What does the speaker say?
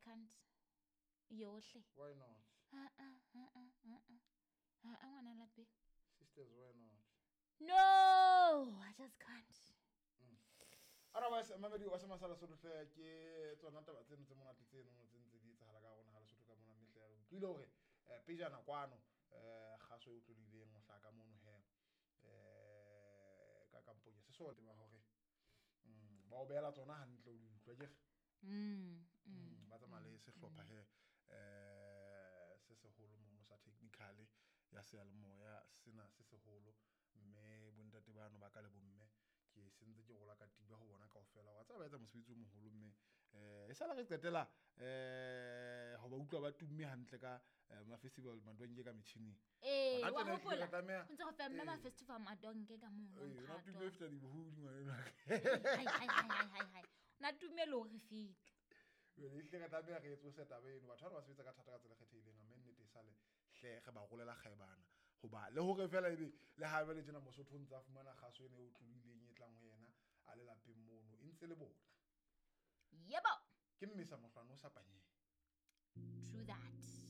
can't. Yohle. Why not? Ha a ha a ha a. Ha a ngwana lapeng. Sisters, why not? No, I just can't. Otherwise, mamedi wa semasala Sotho ke tsona taba tseno tse monate tseno tse ntse di etsahala ka rona ha Lesotho ka mona, mme hle re utlwile hore pejana kwano kgaso e utlwileng ho hlaka mono he ka kampong ya sesole ba hore ba o behela tsona hantle o di utlwa ke ba tsamaya le sehlopha he se seholo mono sa technical ya seyalemoya sena se seholo, mme bontate bano ba ka le bomme ke sentse ke rola katiba ho bona kaofela. Wa tseba ba etsa mosebetsi o moholo, mme e sala re qetela ho ba utlwa ba tumme hantle ka ma-festival madonke ka metjhining. Ee, Hona wa tjena ehlile hopola? re tlameha- Ho ntse go femme Ee. ma-festival madonke ka mono. Ee, ona mphato. tumme e feta dibohodi ngwanenwa. Hai, hai, hai, hai, hai, hai. Na tumme le hore feta. Jwale ehlile re tlameha re etse taba eno. Batho bana ba sebetsa ka thata ka tsela e kgethehileng, mme nnete e sale hle re ba rolela kgaebana hoba le hore fela ebe le ha jwale tjena Mosotho o ntse a fumana kgaso ena e otlolohileng e tlang ho yena a le lapeng mono, e ntse le bona. Yebo. Ke mmesa mohlwane o sa panyeng. True that.